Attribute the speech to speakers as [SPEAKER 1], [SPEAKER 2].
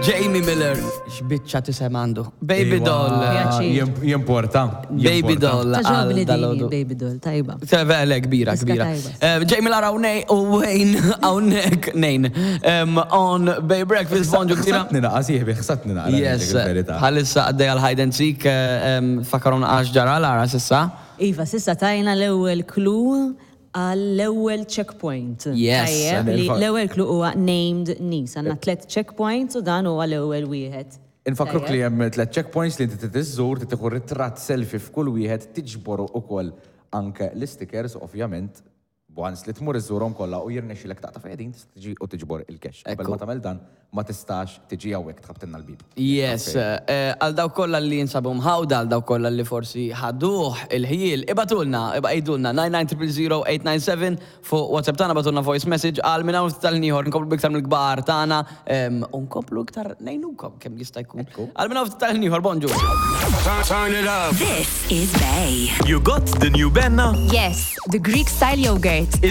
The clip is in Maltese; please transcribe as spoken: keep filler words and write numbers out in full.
[SPEAKER 1] Jamie Miller, x'biċċa tisem għandu. Baby
[SPEAKER 2] Iwa,
[SPEAKER 1] doll.
[SPEAKER 3] Pjaċir.
[SPEAKER 2] jim- Jimporta.
[SPEAKER 1] Baby
[SPEAKER 2] jimporta.
[SPEAKER 1] doll.
[SPEAKER 3] Ta' ġobni
[SPEAKER 1] għal dalodu.
[SPEAKER 3] dini, baby doll, tajba.
[SPEAKER 1] Vele, kbira,
[SPEAKER 3] Diska
[SPEAKER 1] kbira.
[SPEAKER 3] tajba.
[SPEAKER 1] Eh, Jamie Lara u u Wayne hawnhekk nejn. Em, On Bay Breakfast, bonġu kbira.
[SPEAKER 2] Ħsatni naqa, sieħbi, ħsatni naqa.
[SPEAKER 1] Yes, bħalissa għaddej għal hide and seek, eh, em, fakaruna għax ġara Lara s'issa.
[SPEAKER 3] Iva, s'issa tajna l-ewwel clue għall-ewwel checkpoint.
[SPEAKER 1] Yes.
[SPEAKER 3] Tajjeb, li l-ewwel clue huwa named niece. Għandna tliet checkpoints u dan huwa l-ewwel wieħed.
[SPEAKER 2] Infakruk li hemm tliet checkpoints li inti trid tieħu ritratt selfie f'kull wieħed tiġboru ukoll anke l-stickers ovvjament once li tmur iżżurhom kollha u jirnexxilek taqta' fejdin tista' tiġi u tiġbor il-cash. Qabel
[SPEAKER 1] Ekku.
[SPEAKER 2] ma tagħmel dan ma tistax tiġi hawnhekk tħabtilna l-bib.
[SPEAKER 1] Yes, eh, għal dawk kollha li jinsabu mħawda, għal dawk kollha li forsi ħaduh il-ħjiel, ibagħtulna, ibgħatulna nine nine zero zero eight nine seven fuq WhatsApp tagħna, ibagħtulna voice message għal minn hawn tal-ieħor nkomplu biktar mill-kbar tagħna em, u nkomplu iktar ngħinukom kemm jista' jkun. Għal minn hawn tal-ieħor, bonġu.
[SPEAKER 4] Turn it up.
[SPEAKER 5] This is Bay.
[SPEAKER 6] You got the new Benna?
[SPEAKER 7] Yes, the Greek style yogurt.